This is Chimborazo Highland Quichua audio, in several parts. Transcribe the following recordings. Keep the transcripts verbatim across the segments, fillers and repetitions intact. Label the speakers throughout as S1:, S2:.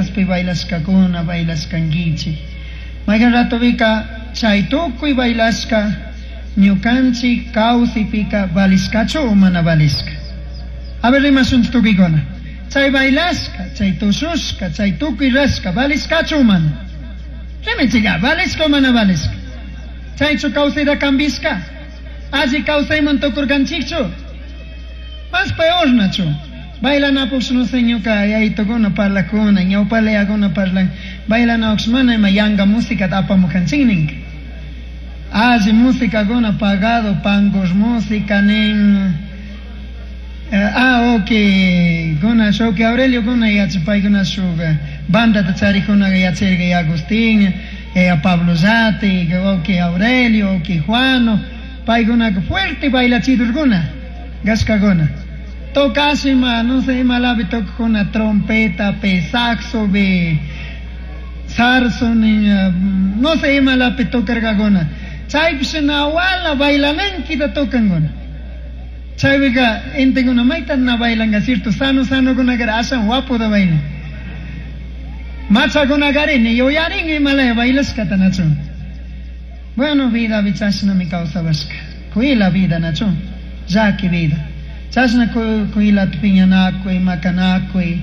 S1: Fiestaspi bailashkakuna, bailashkankichik. Maykan ratopika chay tukuy bailashka ñukanchik kawsaypika valishkachu o mana valishka? A ver, rimashunchik tukuykuna. Chay bailashka, chay tushushka, chay tukuy rashka, valishkachu o mana? Rimaychika, valishka o mana valishka? Chaychu kawsayta kambishka? Alli kawsayman tukurkanchikchu? Más peor, nachu. Bailanapuk, no sé, ñuka yayitukuna parlakuna, ñawpalayakuna parlan, bailanapuk mana ima yanga música apamukanchik ninka. Alli musicakuna pagado, pangos música nin. Ah, ok, kuna shuk Aurelio kuna yachay paykuna shuk bandata charikuna yachayka Agustín, eh, Pablo Zate, ok Aurelio, ok Juano, paykunaka fuerte bailachidurkuna, gashkakuna. Tocashima, no sé, imalapi tocakuna trompeta, pe saxo, be zarzo, no sé, imalapi tocarkakuna. Chaypish nawala bailanankita tocankuna. Chaypika gentekuna mayta na bailanka, cierto, sano sano kunakara ashan guapo da bailan. Machakunakari ni yuyarin imalaya bailashkata nachu. Bueno, vida chashnami kawsawashka. Kuyla vida nachu. Llaki vida. Chashna kuylata piñanakuy, makanakuy,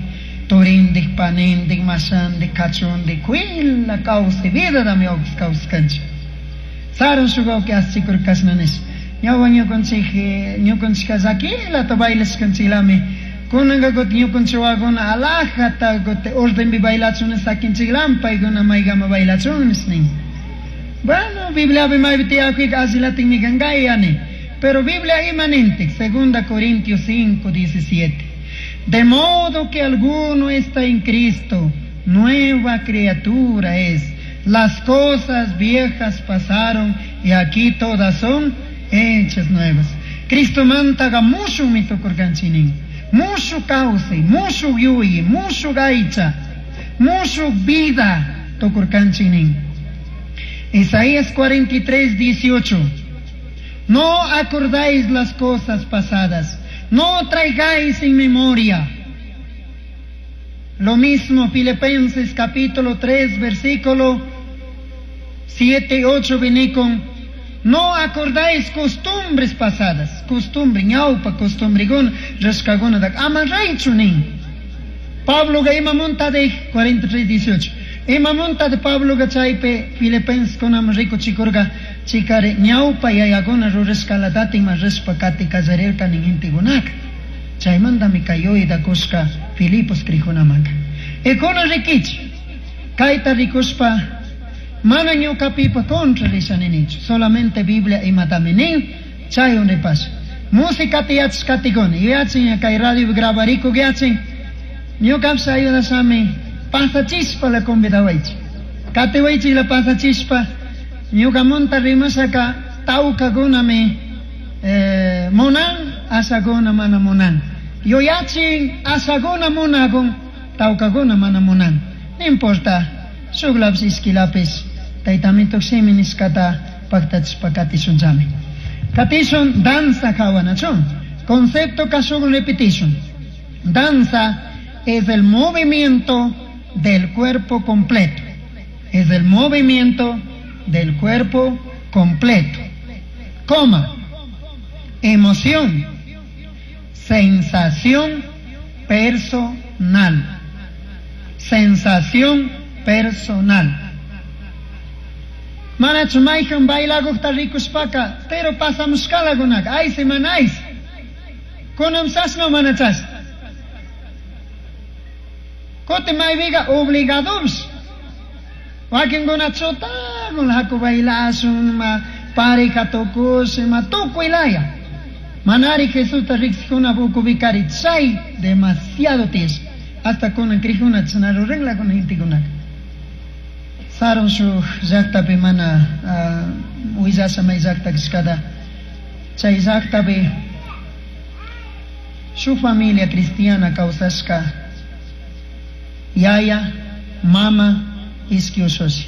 S1: turindik, panindik, mashandik, kachundik, kuyla kawsay vidadami kawskanchik. Sarun shuk wawki aschikur kashna nish. Ñawpa ñukanchik ñukanchika llakilata bailashkanchiklami. Kunanka kutin ñukanchik wawakuna alajata kutin ordenpi bailachun sakinchiklami paykuna maykama bailachun nish nin. Bueno, Bibliapi maypi tiyakuyka ashilatikmi kanka yani. Pero Biblia ima nintik, Segunda Corintios cinco, diecisiete. De modo que alguno está en Cristo, nueva criatura es. Las cosas viejas pasaron y aquí todas son hechas nuevas. Cristo mantaga mushukmi tukurkanchik nin. Mushuk kawsay, mushuk yuyi, mushuk aycha, mushuk vida tukurkanchik nin. Isaías cuarenta y tres, dieciocho. No acordáis las cosas pasadas, no traigáis en memoria. Lo mismo Filipenses capítulo tres, versículo siete, ocho, viene con no acordáis costumbres pasadas, costumbre, ñaupa, costumbre, rashkaguna, ama raychu nin. Pablo ga ima monta de cuarenta y tres, dieciocho. Ima monta de Pablo ga chaype Filipenses kunam rikuchikurka chikare ñaupa yayakuna rurashkalatatin ma rishpa kati kallarirka nin gentekunaka. Chaymantami kay yuyayta kushka Filipos krijunamanka. Ikuna rikichi, kayta rikushpa mana ñukapipa contra risha ninichu, solamente Biblia imatami nin, chaywan ripasha. Música yachashkatikuna, yuyachin kay radio grabarikuk yachin, ñukapish ayudashami pasachishpa la convidawaychik. Katiwaychik la pasachishpa, ñukamunta rimashaka tawkakunami, eh, munan, ashakuna mana munan. Yuyachin ashakuna munakun, tawkakuna mana munan. No importa, shuklapish ishkilapish, taytamituk shimi nishkata paktachishpa katishunchami. Katishun danza hawanachun. Concepto kashukun repetition. Danza es el movimiento del cuerpo completo. Es el movimiento del cuerpo completo. Coma. Emoción. Sensación personal. Sensación personal. Manachu mayhan bailagujta rikushpaka, pero pasamushkalakunaka, aysi mana aysi. Kunan chashna mana chashna. Kutin maypiqa obligadopish. Wakinkuna chutakun haku bailashun, ma pareja tukush, ma tukuy laya. Manari Jesusta riqsikuna ukupikari chay demasiado tiyashka. Hasta kunan krijuna chashna ruranlakuna gentekunaka. Sarun shuk llaktapi mana, uh, willasha may llakta kashkata. Chay llaktapi shuk familia cristiana kawsashka yaya, mama, ishki ushushi.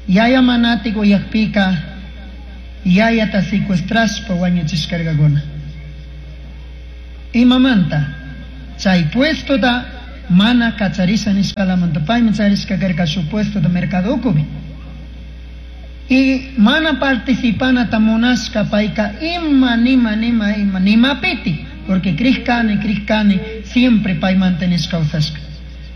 S1: Yaya manatik uyakpika yayata secuestrashpa wañuchishkarkakuna. Imamanta chay puestota Mana kacharisha nishkalamanta paymi charishka karka shu puesto de mercado ukupi. Y mana participanata munashka payka ima nima nima ima nimapiti, porque krishkani krishkani siempre pay mantenishka kawsashka.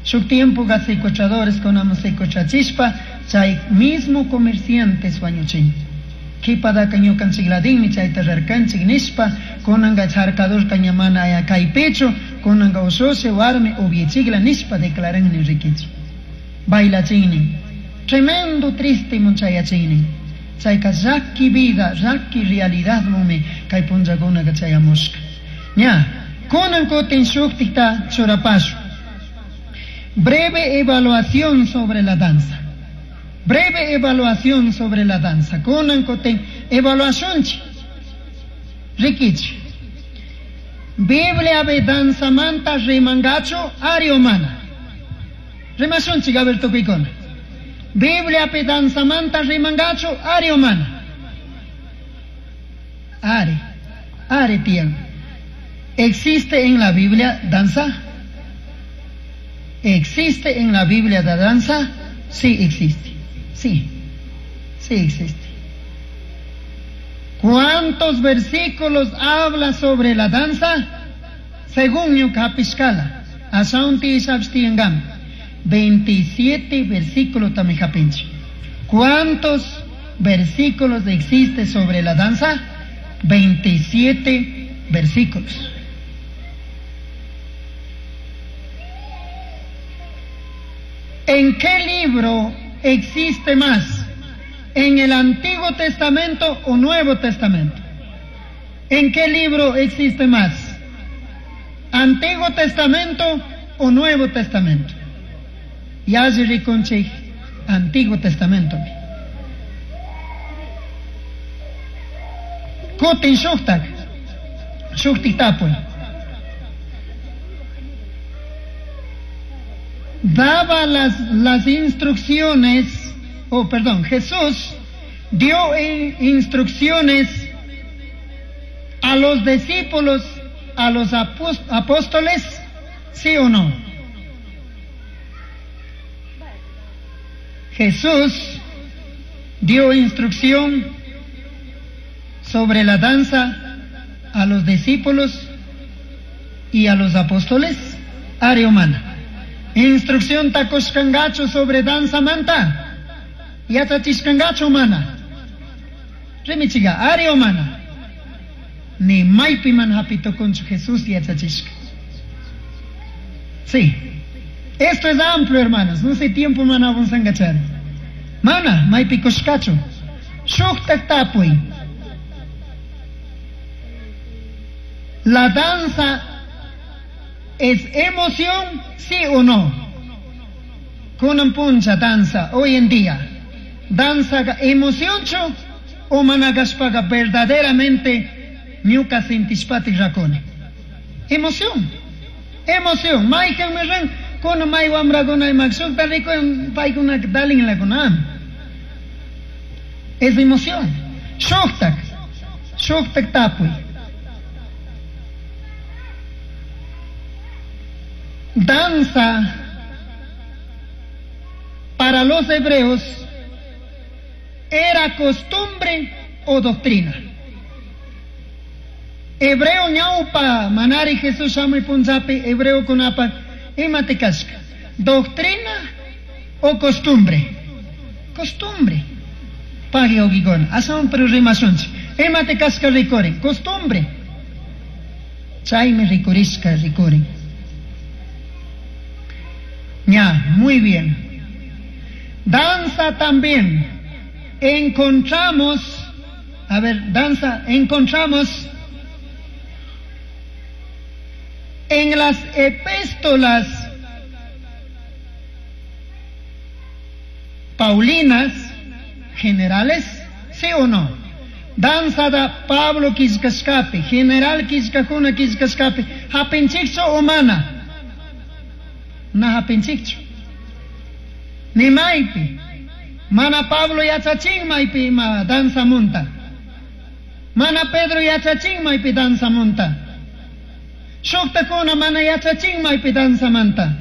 S1: Shuk tiempo secuestradores kunama secuestrachishpa chay mismo comerciantes wañuchin. Kipadaka ñukanchikladinmi chayta rarkanchik nishpa kunanka charkadorka ña mana aya kaypichu kunanka ushushi warmi upiachikla nishpa declaran rikichik. Bailachinnin. Tremendo triste munchayachinnin. Chayka llaki vida, llaki realidad mumi kay punllakunaka chayamushka. Ña, kunan kutin shuktikta churapashu. Breve evaluación sobre la danza. Breve evaluación sobre la danza. Kunan kutin evaluación chi. Rikichi. Biblia be danza manta rimangacho ari o mana. Rimashunchik a ver tukuykuna. Biblia pe danza manta rimangacho ari o mana. Ari. Ari tiyan. ¿Existe en la Biblia danza? ¿Existe en la Biblia la danza? Sí existe. Sí. Sí existe. ¿Cuántos versículos habla sobre la danza? Según ñuka hapishkala. Asaunti isapstiangam. veintisiete versículos también japinchi. ¿Cuántos versículos existe sobre la danza? veintisiete versículos. ¿En qué libro existe más? ¿En el Antiguo Testamento o Nuevo Testamento? ¿En qué libro existe más? ¿Antiguo Testamento o Nuevo Testamento? Yalli rikunchik Antiguo Testamento. Kutin shuktak, shuktik tapuy. Daba las, las instrucciones, oh perdón, Jesús dio in, instrucciones a los discípulos, a los apóstoles, ¿sí o no? Jesús dio instrucción sobre la danza a los discípulos y a los apóstoles, área humana. Instrucción takushkangachu sobre danza manta. Yachachishkangachu mana. Rimichiga, área humana. Ni maypi man hapitukunchu Jesús yachachishka. Sí. Esto es amplio, hermanos. No sé tiempo mana avanzangachari. Mana, maypi kushkachu. Shuktak tapuy. La danza es emoción, sí o no? Kunan puncha danza hoy en día. Danza emoción chu o managashpaga verdaderamente ñuka sintishpati rakuni. Emoción. Emoción. Maykan mirran kuna may wamrakuna imak shukta rikun paykuna dalin lakunam. Es emoción. Shuktak. Shuktak tapuy. Danza para los hebreos era costumbre o doctrina. Hebreo ñaupa manari Jesús shamuy punllapi hebreo kunapa imati kashka. Doctrina o costumbre. Costumbre. Pagi ogigona. Asawan pero rimashunchik. Imati kashka rikurin. Costumbre. Chaymi rikurishka rikurin. Ya, muy bien. Danza también. Encontramos, a ver, danza, encontramos en las epístolas paulinas generales, ¿sí o no? Danza da Pablo killkashkapi, general killkakuna killkashkapi, hapinchikchu o mana? Na hapinchikchu. Ni maypi. Mana Pablo yachachin maypi ima danza munta. Mana Pedro yachachin maypi danza munta. Shuktakuna mana yachachin maypi danza manta.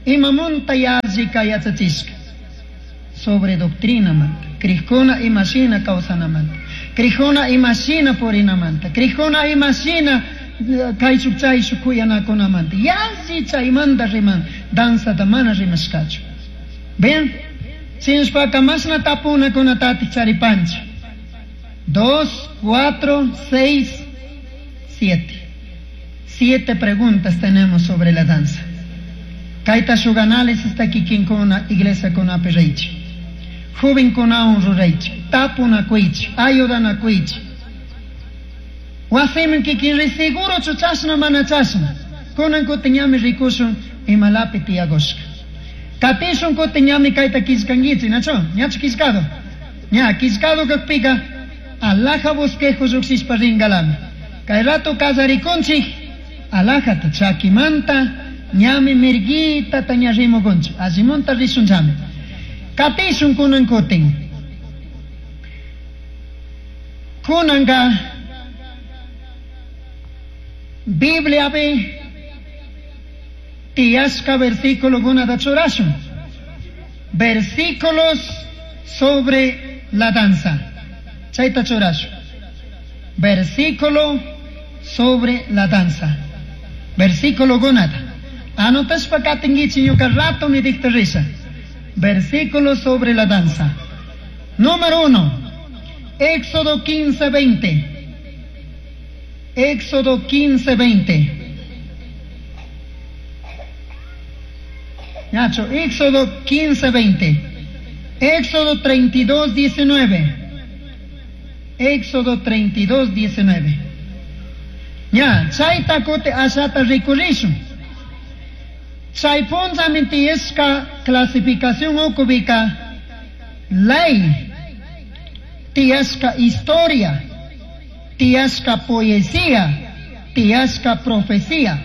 S1: Imamunta yallika yachachishka. Sobre doctrina manta. Crijkuna imashina kawsanamanta. Crijkuna imashina purinamanta. Crijkuna imashina kayshuk chayshuk kuyanakunamanta. Yalli chaymanta riman. Danzata mana rimashkachu. Bien? Shinashpaka mashna tapunakunatatik charipanchik. Dos, cuatro, seis, siete. Siete preguntas tenemos sobre la danza. Kayta shuk análisis ta kikinkuna iglesiakunapi riychik. Jovenkunawan ruraychik, tapunakuychik, ayudanakuychik. Wasiman kikin ri segurochu chashna mana chashna. Kunan kutin ñami rikushun imalapi tiyakushka. Katishun kutin ñami kayta killkankichik, nachu? Ñachu killkado? Ña, killkado kakpika alhaja bosquejo lluqshishpa ringalami. Kay rato kallarikunchik, alhajata chakimanta ñami mirguita ña rimukunchik, allimunta rishunchami. Katishun kunan kutin. Kunanka Bibliapi tiyashka versículo kunata churashun. Versículos sobre la danza. Chayta churashun. Versículo sobre la danza. Versículo kunata. Anotashpa katinkichik ñuka rato mi dicta risha. Versículo sobre la danza. Número uno. Éxodo quince, veinte. Éxodo quince, veinte. Nacho, Éxodo quince, veinte. Éxodo treinta y dos, diecinueve. Éxodo treinta y dos, diecinueve. Ya, chayta kote ashata rikurishun. Chay punllami tiyashka clasificación ukupika ley, tiyashka historia, tiyashka poesía, tiyashka profecía.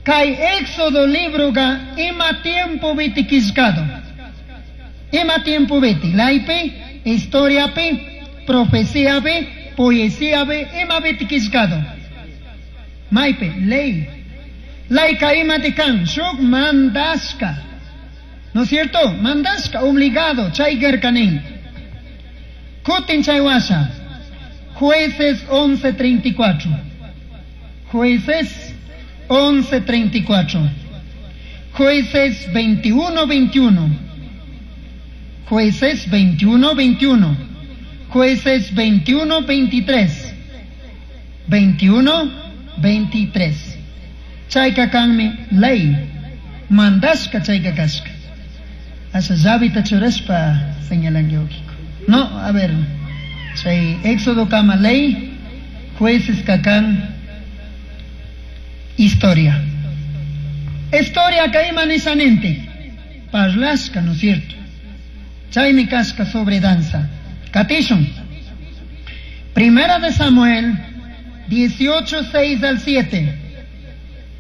S1: Kay Éxodo libroga ima tiempo viti killkado. Ima tiempo viti, leypi, historiapi, profeciapi, poesiapi, ima viti killkado. Maypi, ley. Laika ima tikan, shuk mandashka. ¿No es cierto? Mandashka, obligado, chay gerkanin. Kutin chay washa. Jueces once treinta y cuatro. Jueces once treinta y cuatro. Jueces veintiuno veintiuno. Jueces veintiuno veintiuno. Jueces veintiuno veintitrés. Veintiuno veintitrés. Chayka kanmi ley. Mandashka chayka kashka. Asha llavita churashpa señalanki ukiko. No, a ver. Chay Éxodo kama ley, jueces kakan historia. Historia kayman nisanente. Parlashka, ¿no es cierto? Chaymi kashka sobre danza. Katishun. Primera de Samuel dieciocho, seis al siete.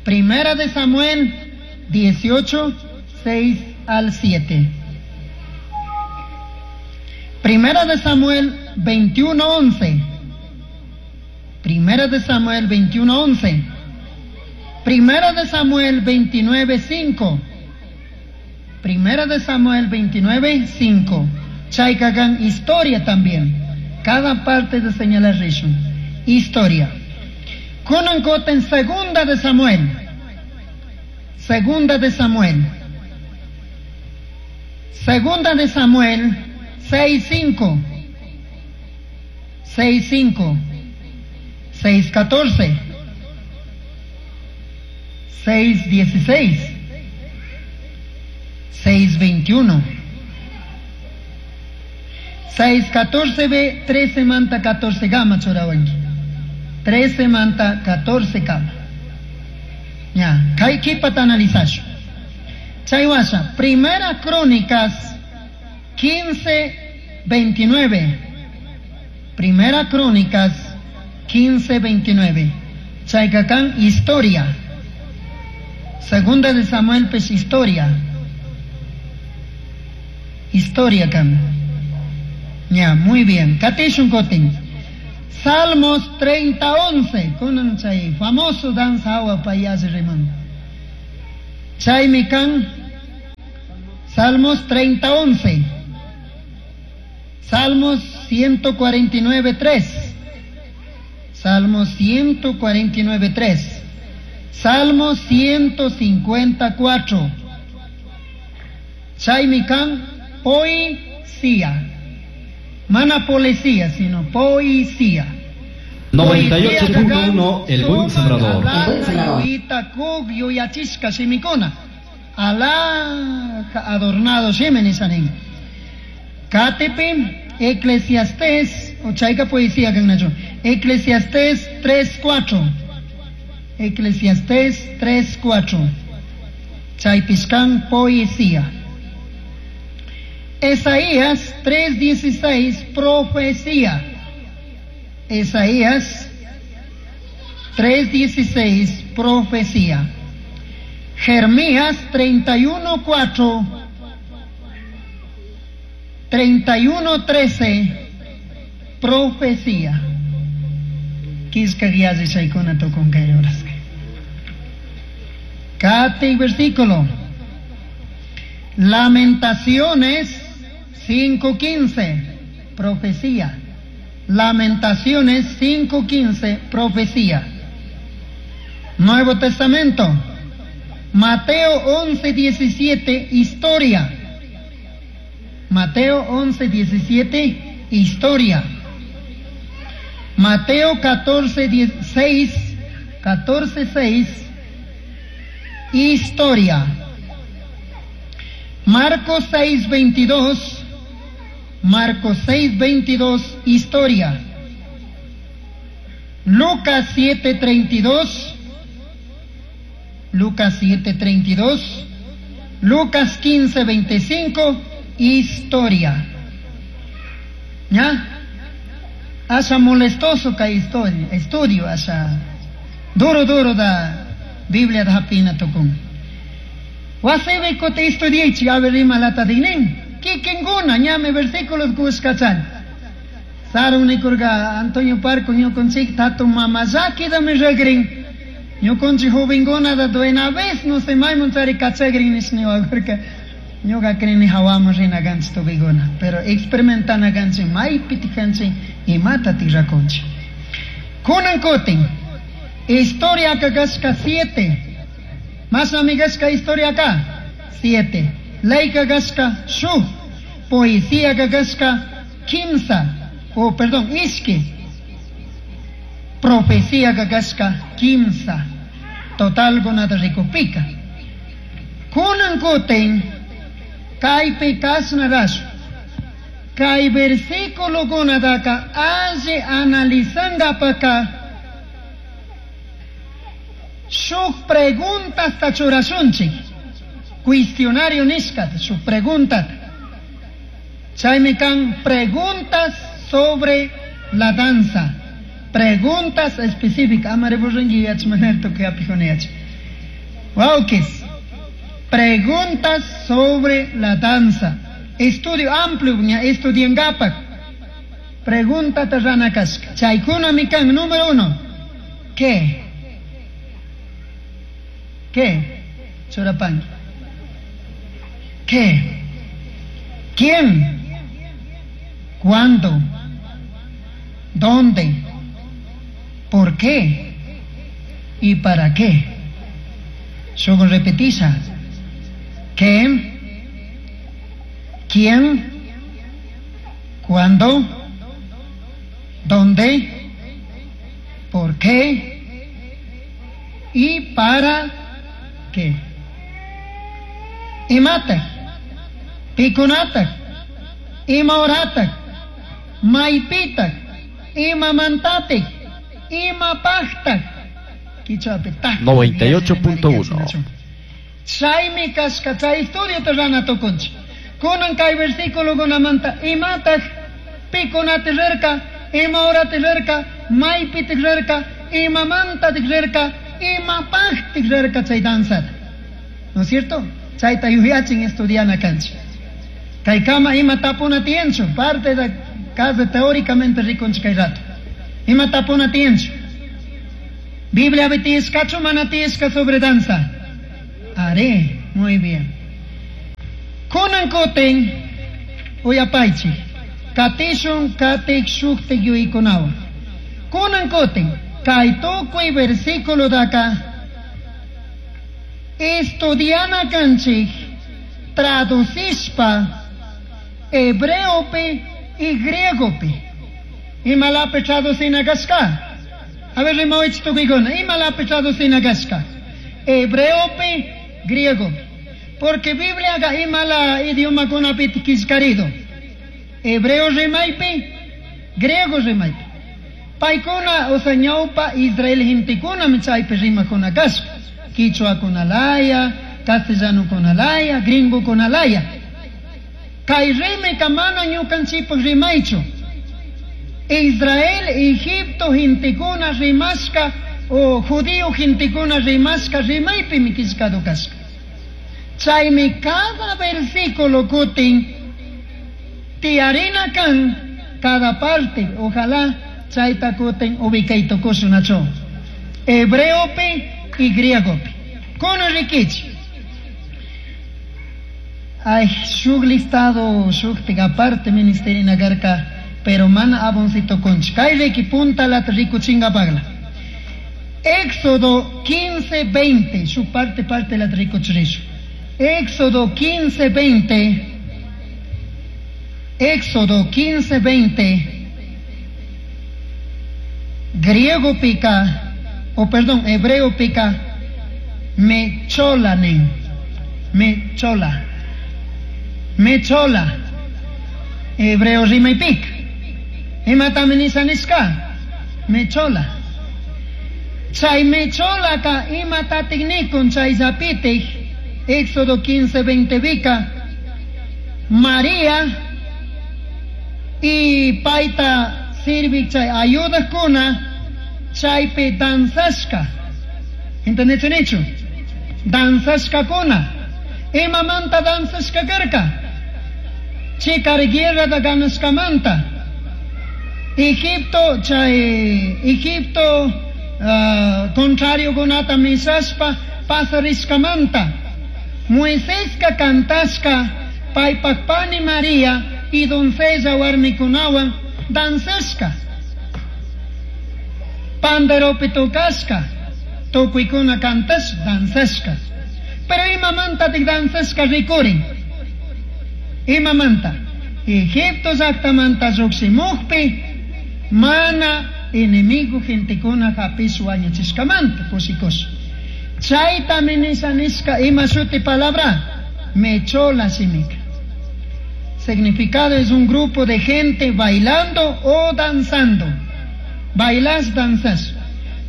S1: Primera de Samuel dieciocho, seis al siete. Primera de Samuel veintiuno, once. Primera de Samuel veintiuno, once. Primera de Samuel veintinueve, cinco. Primera de Samuel veintinueve, cinco. Chaykagan historia también. Cada parte de señalar rishun. Historia. Kunan koten segunda de Samuel. Segunda de Samuel. Segunda de Samuel seis cinco. Seis cinco. Seis catorce. Seis dieciséis. Seis veintiuno. Seis catorce B, trece manta catorce gama churawanki. Trece manta catorce gama. Ya, kay kipata analizasho. Chaywasha, Primera Crónicas quince veintinueve. Primera Crónicas quince veintinueve. Chaykakan historia. Segunda de Samuel pues historia. Historia kan. Ya, muy bien. Katishun kotin. Salmos treinta once. Kunan chay famoso danza agua payas rimón. Chaymi kan Salmos treinta once. Salmos ciento cuarenta y nueve tres. Salmos ciento cuarenta y nueve tres. Salmos ciento cincuenta cuatro. Chaymi kan poesía. Mana policía, sino poesía.
S2: noventa y ocho punto uno, El Buen Sembrador.
S1: El Buen Sembrador. Alá adornado shimi sanin. Katepe Eclesiastés, o chayka poesía kan nacho. Eclesiastés tres cuatro. Eclesiastés tres cuatro. Chaypishkan poesía. Isaías tres dieciséis, profecía. Isaías tres dieciséis, profecía. Jeremías treinta y uno cuatro, treinta y uno trece, profecía. Quisca guiazi chaykuna tukun kay horas. Kati versículo. Lamentaciones cinco quince, profecía. Lamentaciones cinco quince, profecía. Nuevo Testamento. Mateo once diecisiete, historia. Mateo once diecisiete, historia. Mateo catorce seis, catorce seis, historia. Marcos seis veintidós, Marcos seis veintidós, historia. Lucas siete treinta y dos, Lucas siete treinta y dos, Lucas quince veinticinco, historia. ¿Ya? Asa molestoso ka historia, estudio asa duro duro da Biblia da hapina tukun. Wasibe kote estudiichi a ver ima lata dinin. Kikinguna ñame versículos kuskachan. Sarun nikurga Antonio Parco ñukunchik tatu mamazaki da mi regrin. Ñukunchi jovenguna da duena vez no se maymun tsari kachagrin nisniwagurka. Ñuka krini hawamu rina ganchi tubiguna. Pero experimentana ganchi maypi tikanchi imata tirakunchi. Kunan kutin. Historia kakashka siete. Más amigasca historia acá. Siete. Ley kakashka shu. Poesía kakashka kimsa. Oh, perdón, ishki. Profecía kakashka kimsa. Total gunata rikupika. Kunan kutin. Kaypi kasna rashu. Kay versículo gunataka alli analizangapaka shuk preguntas ta churashunchik. Cuestionario nishkata, shuk preguntas. Chaymi kan preguntas sobre la danza. Preguntas específicas. Amare burringi yachmaner tukuy apijuniyach. Wawkis. Preguntas sobre la danza. Estudio amplio, ña estudiangapak. Pregunta terrana kashka. Chaykuna mi kan número uno. ¿Qué? ¿Qué? Churapan. ¿Qué? ¿Quién? ¿Cuándo? ¿Dónde? ¿Por qué? ¿Y para qué? Solo repetiza. ¿Qué? ¿Quién? ¿Cuándo? ¿Dónde? ¿Por qué? ¿Y para qué? Imata, pikunata, imahorata, maypita, imamantate, imapajta.
S2: noventa y ocho punto uno.
S1: Chaymi kashka chay estudio terrana tukunchik. Kunan kay versículo kunamanta imataq pikunati rirka, imahorati rirka, maypi rirka, imamanta rirka, imapaqti rirka chay danzata. ¿No es cierto? Chayta yuyachin estudiana kanchik. Kay kama ima tapuna tiyanchu, parte de casa teóricamente rikunchik kay rato. Ima tapuna tiyanchu. Biblia tiyashkachu mana tiyashka sobre danza. Are, muy bien. Kunan kutin uyapaychik. Katishun katik shuktik yuyaykunawan. Kunan kutin kay tukuy versículo daka estudiana kanchik traducishpa hebreopi y griegopi. Imalapi traducina kashka. A ver, rimawich tukuykuna. Imalapi traducina kashka. Hebreopi, griego. Porque Biblia ga imala idioma kunapi killkarido. Hebreo rimaypi, griego rimaypi. Paykuna, o sea, ñawpa Israel gentekunami chaypi rimakuna kashka. Quichua kunalaya, castellano kunalaya, gringo kunalaya. Kay rimika mana ñukanchikpak rimaychu. Israel, Egipto gentekuna rimashka o judío gentekuna rimashka rimaypimi killkado kashka. Chaymi cada versículo kutin tiyarina kan cada parte, ojalá chayta kutin ubicaytukushunachu. Hebreopi y griegopi. Kunan rikichi. Ay, shuk listado, shuktik aparte ministerina karka, pero mana aboncito conch. Kay riki punta lat rikuchingapagla. Éxodo quince veinte, su parte parte la rikuchrishu. Éxodo quince veinte. Éxodo quince veinte. Griego pica, o perdón, hebreo pica, mecholanen, mechola, mechola, hebreo rima y pic, imataminisanisca, mechola. Chay mechola ka imatatiknikun chay zapitik, Éxodo quince veinte vica, María y paita sirvi chay ayuda kuna chaypi danzashka. ¿Entendiste? Danzashka kuna. Imamanta danzashka karka. Chikar guerra da ganashkamanta. Egipto chay Egipto uh, contrario kunata misashpa pasarishkamanta. Moiseska kantashka paypakpani María y doncella warmikunawan danzashka. Panderopi tocashka, tukuykuna kantash danzashka. Pero imamanta tik danzashka rikurin. Imamanta. Egipto llaqtamanta lluqshimukpi mana enemigo gentekuna hapish wañuchishkamanta kushikush. Chaytami nisha nishka ima shuti palabra mechola shimika. Significado es un grupo de gente bailando o danzando. Bailas, danzas.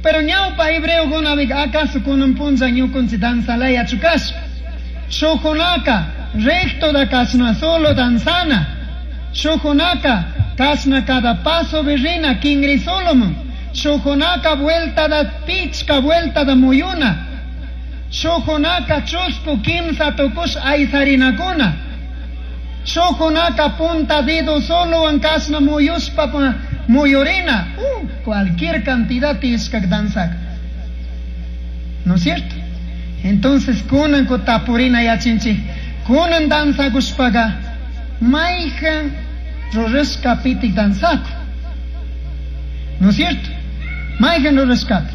S1: Pero ñawpa hebreo kunabik acaso kunan punza ñukunchi danzalaya chukash. Shukunaka recto da kasna solo danzana. Shukunaka kasna cada paso virrina kingri solomon. Shukunaka vuelta da pichka vuelta da muyuna. Shukunaka chusku kimsa tukush aysarinakuna. Shukunaka punta dedo solo en kasna muyuspa muyurina. Uh, cualquier cantidad tishkak danzak. ¿No es cierto? Entonces kunan kutapurina yachinchi. Kunan danzakushpaga mayhan rurashka pitik danzaku. ¿No es cierto? Mayhan rurashkapi.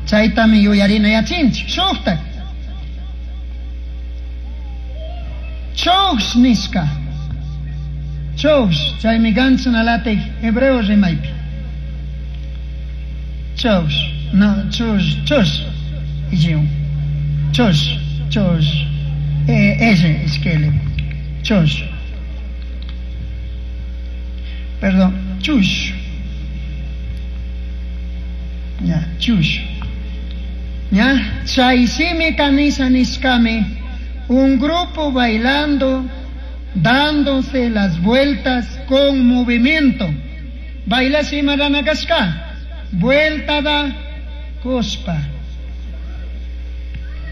S1: Chaytami yuyarina yachinchi. Shuktak. Chosh nishka. Chosh, chaymi ganchunalatik hebreo rimaypi. Chosh, no, chosh, chosh. Ijiun. Chosh, chosh. E, ese iskele. Chosh. Perdón, chush. Ya, chush. Ya, chaysimi kanisa nishkami. Un grupo bailando, dándose las vueltas con movimiento. Baila simarana kashka, vuelta da kuspa.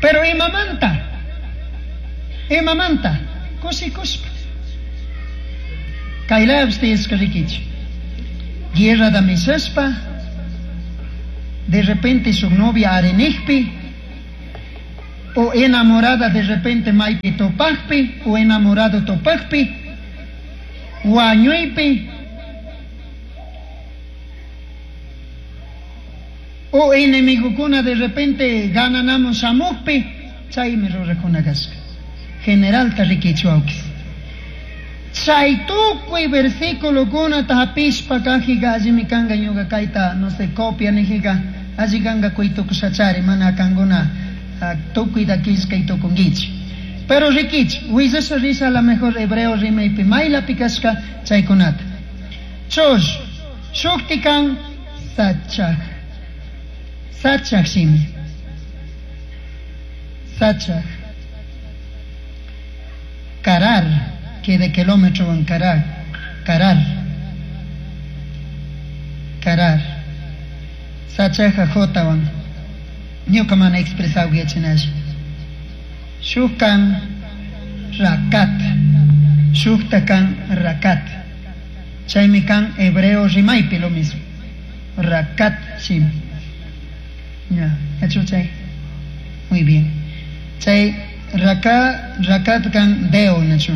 S1: Pero imamanta, imamanta, kusi kuspa. Kailabsti eskarikich. Guerra da misaspa, de repente su novia arenijpi, O enamorada de repente maypi topaqpi o enamorado topaqpi wañuypi o enemigokuna de repente gananamos shamuqpi chaymi rurakuna kasqa. Generalta rikichu wawkis. Chay tukuy versículokuna hapishpa kajiga allimi kanqa ñuqa kayta no sé copia nijiga alli kanqa kuytukushachari mana kankuna tukuyta killkay tukunkichik. Pero rikichik willasha risha a la mejor hebreo rimaypi maylapi kashka chaykunata. Chush shukti kan sachaj. Sachaj shimi. Sachaj. Karar, que de kilómetro en karar, karar, karar. Sachaja jotawan. Ñuka mana expresado yachinash. Shukkan rakat. Shuktakan rakat. Chaymi kan hebreo rimaypi lo mismo. Rakat shimi. Ya, hecho chay. Muy bien. Chay raka rakat kan deo nachu.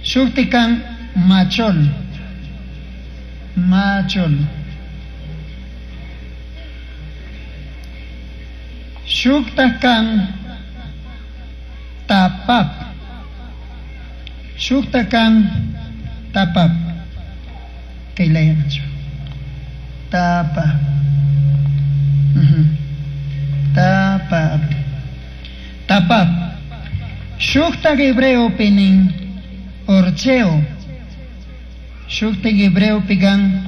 S1: Shuktikan machol. Machol. Shuktakan tapap. Shuktakan tapap. Kay laya nachu. Tapa. Uh-huh. Tapap. Tapap. Shuktak hebreo pinin orcheo. Shuktak hebreo pigan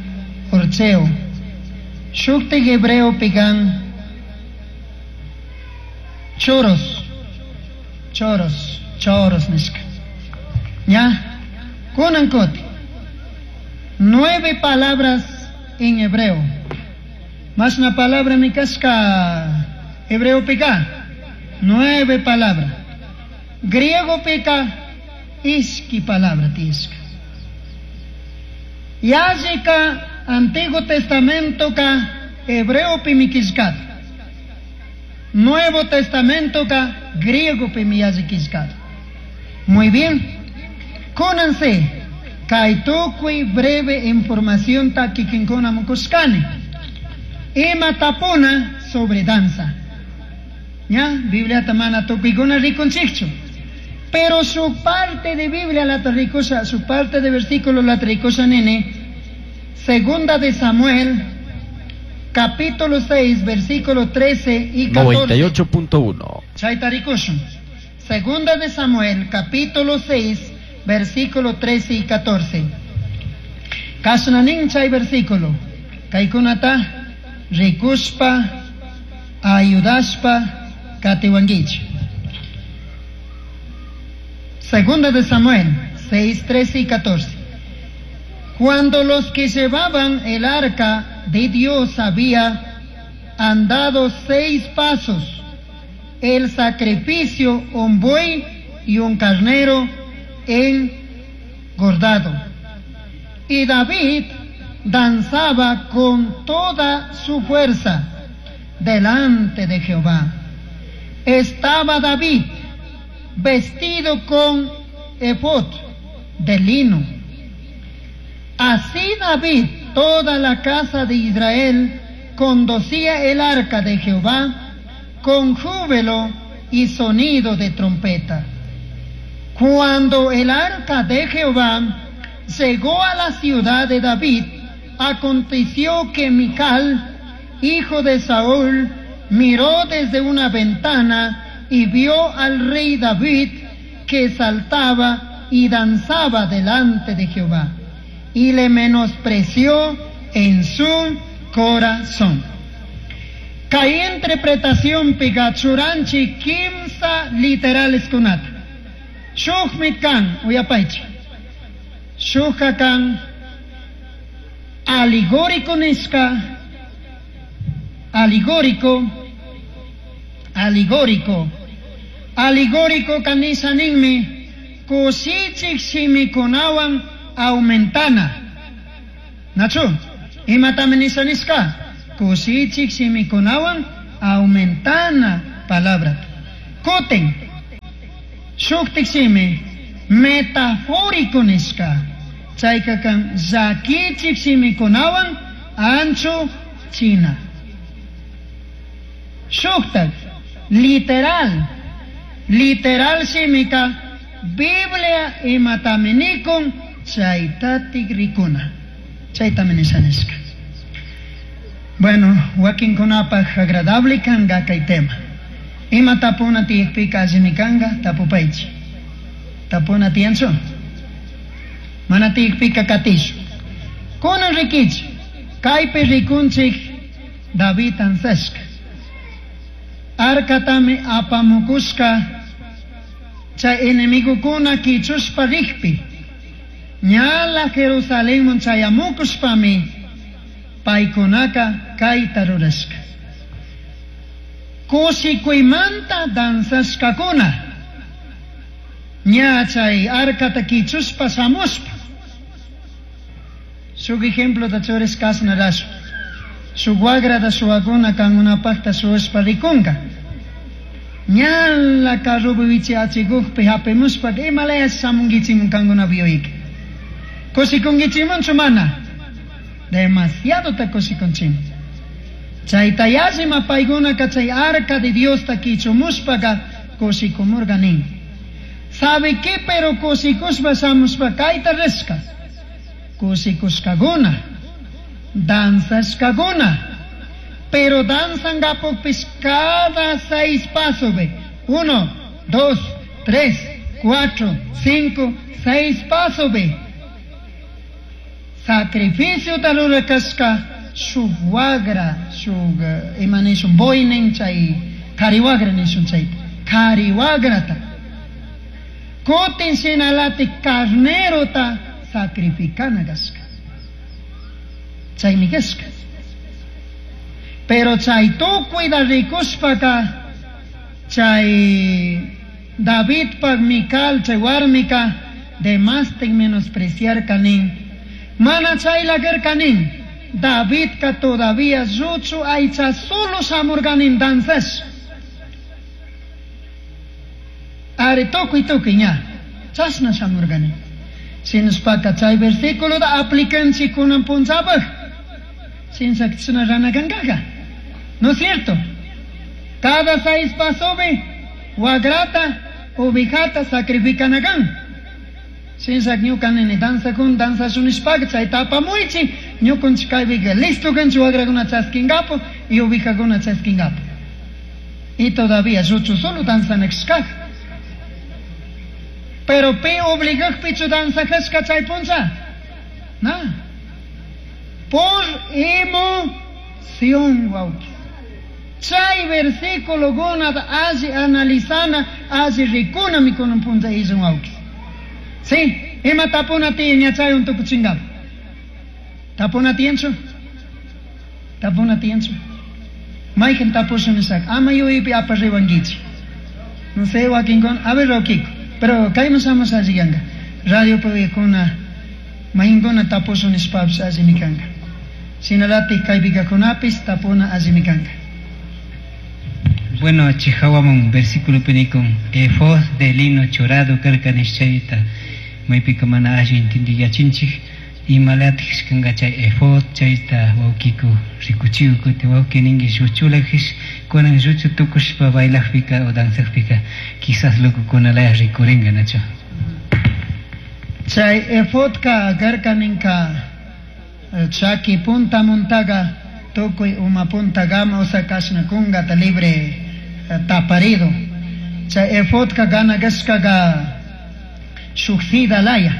S1: orcheo. Shuktak hebreo pigan choros. Choros. Choros nishka. Ya. Kunan koti. Nueve palabras en hebreo. Más una palabra mi casca hebreo pica. Nueve palabras. Griego pica iski palabra tiska. Yásica Antiguo Testamento ka hebreo pimikiskat. Nuevo Testamento ka griego pimiyazikiskat. Muy bien. Kúnanse. Kaitukui breve información ta kikinkuna mukuskani. Ima tapuna sobre danza. ¿Ya? Biblia tamana tukikuna rikunchikchu. Pero su parte de Biblia la ricosa, su parte de versículo la tricosa nene, segunda de Samuel, capítulo seis, versículo trece y catorce.
S2: noventa y ocho punto uno.
S1: Chaita ricoso. Segunda de Samuel, capítulo seis, versículo trece y catorce. Kasnanin chay versículo. Kaikunata rikuspa ayudaspa katiwanguich. Segunda de Samuel seis, trece y catorce. Cuando los que llevaban el arca de Dios había andado seis pasos, el sacrificio, un buey y un carnero engordado. Y David danzaba con toda su fuerza delante de Jehová. Estaba David vestido con efod de lino. Así David, toda la casa de Israel, conducía el arca de Jehová con júbilo y sonido de trompeta. Cuando el arca de Jehová llegó a la ciudad de David, aconteció que Mical, hijo de Saúl, miró desde una ventana y vio al rey David que saltaba y danzaba delante de Jehová, y le menospreció en su corazón. Kay interpretación pigachuranchi kimsa literales kunata. Shukmit kan uyapaichi. Shukka kan alegórico niska, alegórico, alegórico, alegórico kanisa ninmi kushichik shimikunawan aumentana. Nachu, imatami nisa niska? Kushichik shimikunawan aumentana Palabra. Kutin shuktik shimi metafórico nishka. Chayka kan llakichik shimikunawan anchu china. Shuktak literal. Literal shimika Biblia imatami nikun chaytatik rikuna. Chaytami nishanishka. Bueno, wakinkunapaj agradable kanga kay tema. Ima tapuna tiyakpika allimi kanga tapupaychi. Tapuna tiyanchu? Mana tiyakpika katishu. Kunan rikichi. Kaypi rikunchik David ansashka. Arkatami apamukushka chay enemigukuna kichushpa rikpi. Ñala Jerusalenman chayamukushpami paykunaka kayta rurashka. Kushikuymanta danzashkakuna. Ña chay arkata kichushpa shamushpa. Shuk ejemplo ta churishkasna rashu. Shuk wagrata shuwakuna kankunapakta shuwashpa rikunka. Ñala carrupi wichiyachikukpi hapimushpa imalaya shamunkichimun kankunapi yuyayka. Kushikunkichimunchu mana? Demasiado ta kushikunchimun. Chayta yallima paykunaka chay arca de Diosta kichumushpaka kushikumurka nin. Sabe qué pero kushikushpa shamushpa kayta rishka. Kushikushkakuna, danzashkakuna. Pero danzangapukpis cada seis pasos, ve. Uno, dos, tres, cuatro, cinco, seis pasos, ve. Sacrificio tarurakashka shuk wagra, shuk ima nishun boynin chay kariwagra nishun chayta. Kariwagrata. Kutin shinalati carnerota sacrificana kashka. Chaymi kashka. Pero chay tukuyta rikushpaka chay Davidpak Mical chay warmika demastik menospreciarka nin. Mana chayla karka nin. Davidka todavía lluchu aycha solo shamurka nin danzash. Ari tukuy tukuy ña. Chashna shamurka nin. Shinashpaka chay versículo aplicanchik kunan punchapaj. Shinshak chashna rana kankaqa. ¿No es cierto? Cada seis pasobe, wagrata, ovejata sacrifican acá. Shinshak ñuka nini danza kun, danza shunishpaka, chayta apamuichi, ñukunchik kaypika listo kanchik wagrakuna chaskingapo y ovejakuna chaskingapo. Y todavía lluchu solo danzanakshkaj. Pero pi obligakpichu danzajashka chay puncha? Na. Por emoción, wawki. Chay versículo gunata alli analizana, alli rikuna mikunan puncha illun wawki. Sí, ima tapuna tiyan ña chay untukuchingapo. Tapuna tiyanchu? Tapuna tiyanchu? Mayqin tapushun nishaka, ama yuyaypi aparriwankichik. No sé, wakinkuna, a ver Roquiko, pero kayman shamush alli kanka. Radio puyakuna, mayqinkuna tapushun nishpapish allimi kanka. Shinalatik kaypikakunapis tapuna allimi kanka.
S3: Bueno, chihawamun versículo pinikun efod de lino churado karka nishchayta maypika mana alli intindiyachinchik imalatik kanka chay efod chayta wawkiku rikuchiw kuti wawki ninki lluchulajish kunan lluchu tukushpa bailajpika o danzajpika quizás locokunalaya rikurinka nacho.
S1: Chay efodka karka ninka chaki punta muntaga tukuy uma punta gama osa kashna kungata libre taparido. Chay efodka gana gashkaga shuksida laya.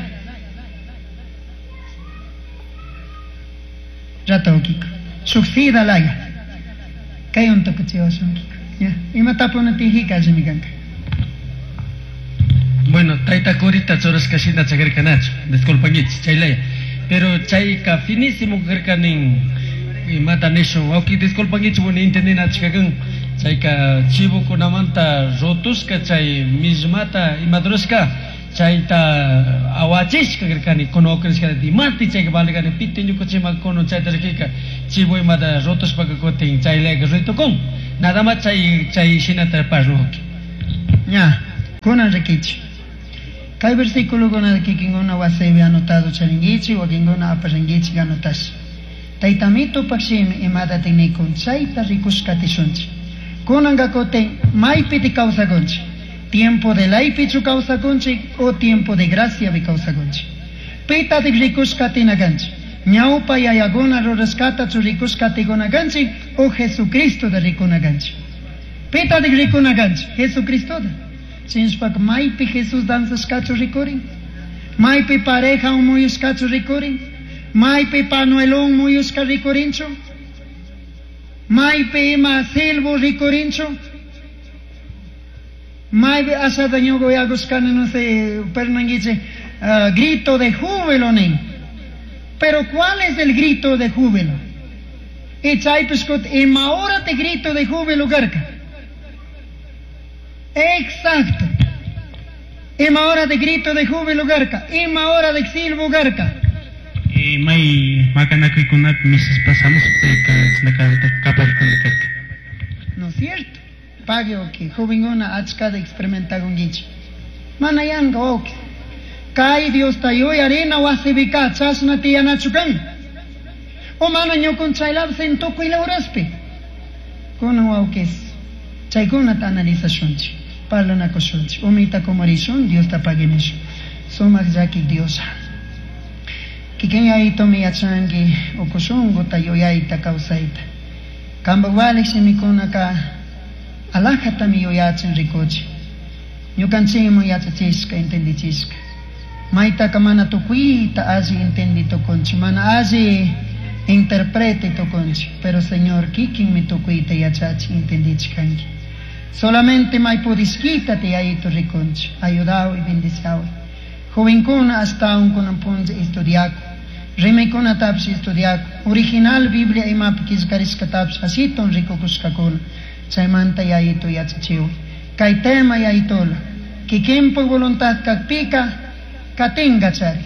S1: Rato kiko. Shuksida laya. Kay untukuchiwashun kiko. Ya. Ima tapuna tijika allimi kanka.
S4: Bueno, tayta kurita churashka shina chakarkanachu. Disculpankichik, chaylaya. Pero chayka finísimo karkanin imata nishun. Wawki disculpankichik, bueno, entendinachikakan. Chayka chivokunamanta rotushka chay mismata imadrushka chayta awachishka karkani kunukrishka imati chayka valigani piti ñukuchima kunu chayta rikika chivo imata rotushpaka kutin chaylayka ruitukun. Nada más chay chay shinata parluki.
S1: Ña, kunan rikichi. Kay versículo kikinkuna wasipi anotado charinkichik, wakinkuna aparinkichik anotash. Taytamito pakshimi imata nikun chayta rikushkatishunchik. Kunanka kutin maypiti kawsakunchik. Tiempo de laypichu kawsakunchik o tiempo de gracia kawsakunchik. Pitatik rikushkatinakanchik. Ñawpa yayakuna rurashkatachu rikushkatikunakanchik o Jesucristota rikunakanchik. Pitatik rikunakanchik, Jesucristota. Chinshpak maypi Jesús danzashkachu rikurin. Maypi pareja muyushkachu rikurin. Maypi panuelón muyushka rikurinchu. Maypi ima silbo rikurinchu. Maypi ashata ñuka yakushkani no sé, pernanguiche, uh, grito de júbilo nin. Pero ¿cuál es el grito de júbilo? Y chaypishkut ima hora te grito de júbilo karka. Exacto. Ima hora de grito de júbilo karka. Ima hora de silbo karka.
S5: Eh, may makanakuykunapi misas pasamos karka.
S1: No es cierto. Pague ok. Jovenguna achkata experimentakunkichik. Mana yanka ok. Kay Diosta yuyarina wasipika chashna tiyanachu kan. O mana ñukunchaylapis tukuy horaspi. Kunan wawkis. Chaykunata analizashunchik. Parlanakushunchik. Umita kumurishun, Diosta paguimishun. Sumak llakik Diosa. Kikin yayitomi yachanki ukushunkuta yuyayta kawsayta. Kampak walik shimikunaka alajatami yuyachin rikuchin. Ñukanchikman yachachishka entendichishka. Maytaka mana tukuyta alli entendi tukunchik, mana alli interprete tukunchik, pero Señor kikinmi tukuyta yachachin entendichkanki. Solamente may pudishkita te yayito rikunchik, ayudawi, bendiciawi. Jovenkuna ashtawan kunan punlla estudiaku. Rimaykunatapish estudiaku. Original Biblia imapi killkarishkatapish ashiton rikukushkakuna. Chaymanta yayito yachachiwi. Kay tema yayitola. Kikinpak voluntad kakpika katinga chari.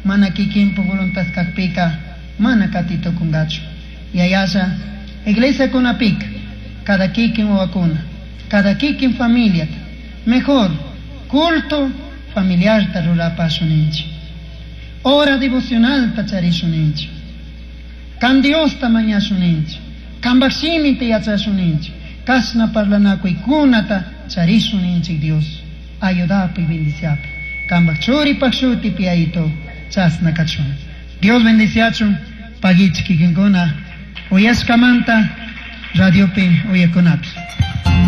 S1: Mana kikinpak voluntad kakpika mana katitukungachu. Yayasha iglesia kunapika cada kikin wawakuna, cada kikin familia. Mejor culto familiar ta rurapashuninchik. Hora devocional ta charishunninchik. Kan Diosta mañashuninchik. Kanpak shimita yachashuninchik. Kashna parlanakuykunata charishunninchik Dios. Ayudapi, bendiciapi. Kanpak churipak shutipi yayito chasna kachun. Dios bendiciachun. Pagichik kikinkuna. Uyashkamanta radiopi uyakunapi.